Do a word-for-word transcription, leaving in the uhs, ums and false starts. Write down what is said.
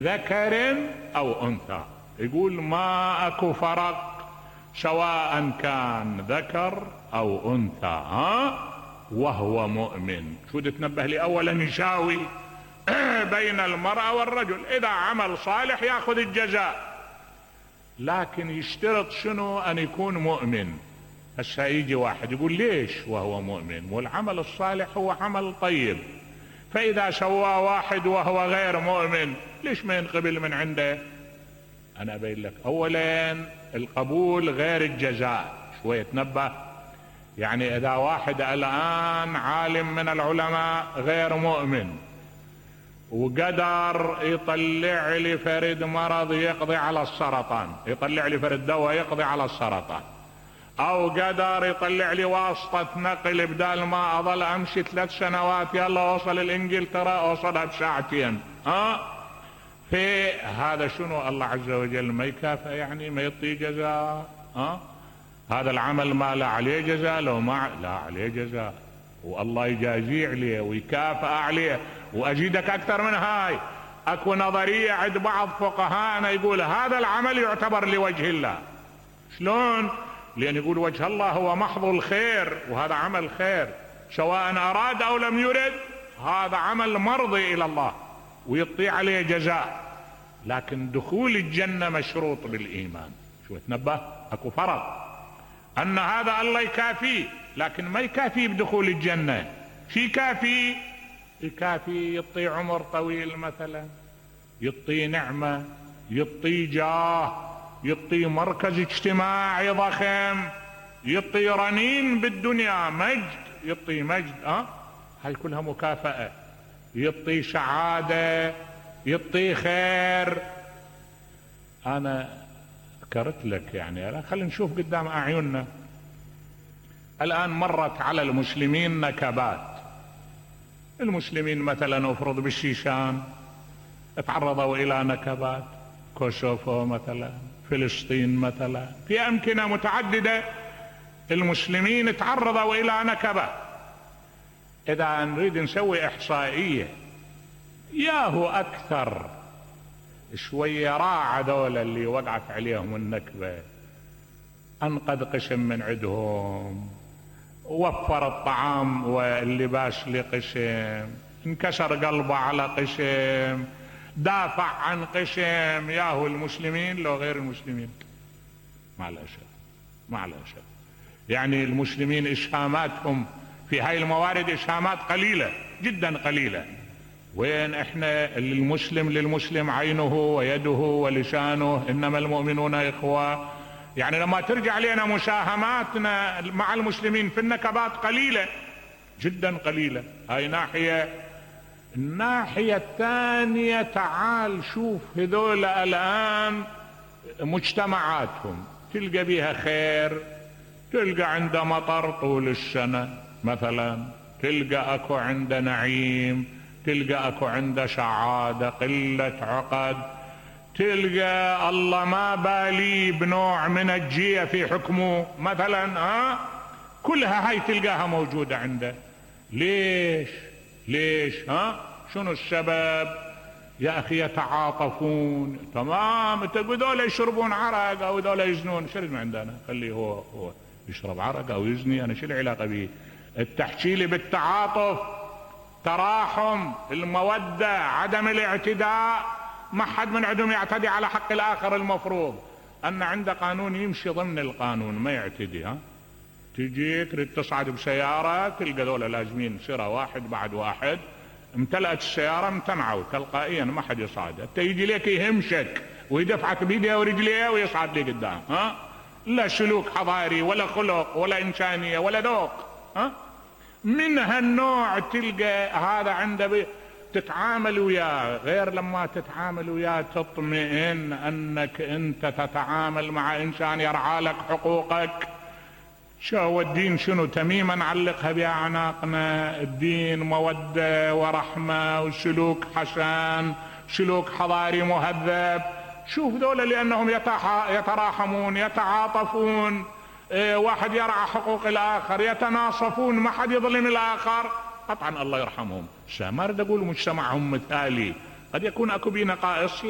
ذكر أو أنثى. يقول ما أكو فرق سواء كان ذكر أو أنثى ها وهو مؤمن. شو تتنبه لي أولا يساوي بين المرأة والرجل، إذا عمل صالح يأخذ الجزاء، لكن يشترط شنو؟ أن يكون مؤمن. هسه يجي واحد يقول ليش وهو مؤمن؟ والعمل الصالح هو عمل طيب، فإذا سواه واحد وهو غير مؤمن ليش ما ينقبل من عنده؟ أنا أبين لك أولا القبول غير الجزاء. شوية تنبه، يعني إذا واحد الآن عالم من العلماء غير مؤمن وقدر يطلع لي فرد مرض يقضي على السرطان، يطلع لي فرد دواء يقضي على السرطان، او قدر يطلع لي واسطة نقل بدال ما اظل امشي ثلاث سنوات يلا اوصل الانجلترا اوصلها بساعتين، ها في هذا شنو؟ الله عز وجل ما يكافئ، يعني ما يعطي جزاء؟ ها هذا العمل ما لا عليه جزاء؟ لو ما لا عليه جزاء، والله يجازيه عليه ويكافئ عليه. واجيدك اكثر من هاي، اكو نظرية عند بعض فقهاءنا يقول هذا العمل يعتبر لوجه الله. شلون؟ لأن يقول وجه الله هو محض الخير، وهذا عمل خير سواء أراد أو لم يرد، هذا عمل مرضي إلى الله ويطيع عليه جزاء. لكن دخول الجنة مشروط بالإيمان. شو تنبه؟ أكو فرق أن هذا الله يكافيه، لكن ما يكافيه بدخول الجنة. شي كافي؟ يكافي يطي عمر طويل مثلا، يطي نعمة، يطي جاه، يطي مركز اجتماعي ضخم، يطي رنين بالدنيا، مجد، يطي مجد، اه هاي كلها مكافأة، يطي سعادة، يطي خير. انا ذكرت لك يعني خلينا نشوف قدام اعيننا الان مرت على المسلمين نكبات. المسلمين مثلا افرض بالشيشان تعرضوا الى نكبات، كوسوفو مثلا، فلسطين مثلا، في أمكنة متعددة المسلمين تعرضوا إلى نكبة. إذا نريد نسوي إحصائية ياهو أكثر شوية راعى دولة اللي وقعت عليهم النكبة، أنقذ قسم من عندهم، وفر الطعام واللباس لقسم، انكسر قلبه على قسم، دافع عن قسم. ياهو المسلمين لو غير المسلمين مع الأسف مع الأسف يعني المسلمين إسهاماتهم في هاي الموارد إسهامات قليلة جدا قليلة. وين احنا المسلم للمسلم عينه ويده ولسانه، إنما المؤمنون إخوة. يعني لما ترجع لنا مساهماتنا مع المسلمين في النكبات قليلة جدا قليلة. هاي ناحية. الناحية الثانية تعال شوف هذول الآن مجتمعاتهم تلقى بيها خير، تلقى عنده مطر طول السنة مثلا، تلقى اكو عنده نعيم، تلقى اكو عنده سعادة، قلة عقد، تلقى الله ما بالي بنوع من الجية في حكمه مثلا، ها كلها هاي تلقاها موجودة عنده. ليش؟ ليش؟ ها شنو السبب؟ يا اخي يتعاطفون. تمام، تقول دول يشربون عرق او دول يزنون، شرد من عندنا، خليه هو هو يشرب عرق او يزني، انا شو العلاقه به؟ التحكي لي بالتعاطف، تراحم، الموده، عدم الاعتداء. ما حد من عندهم يعتدي على حق الاخر. المفروض ان عنده قانون يمشي ضمن القانون ما يعتدي. ها تجي تريد تصعد بسيارة تلقى دولة لازمين سيرة واحد بعد واحد، امتلأت السيارة امتنعوا تلقائيا ما حد يصعد. انت يجي لك يهمشك ويدفعك بيديه ورجليه ويصعد لي قدام. ها لا سلوك حضاري ولا خلق ولا انسانية ولا ذوق. ها من هالنوع تلقى هذا عنده بي... تتعامل وياه غير لما تتعامل وياه تطمئن انك انت تتعامل مع انسان يرعى لك حقوقك. شو هو الدين؟ شنو تميما نعلقها بأعناقنا؟ الدين مودة ورحمة وسلوك حسن، سلوك حضاري مهذب. شوف ذولا لأنهم يتراحمون، يتعاطفون، اه واحد يرعى حقوق الآخر، يتناصفون، ما حد يظلم الآخر. قطعا الله يرحمهم. ما اريد اقول مجتمعهم مثالي، قد يكون اكو بيه نقائص.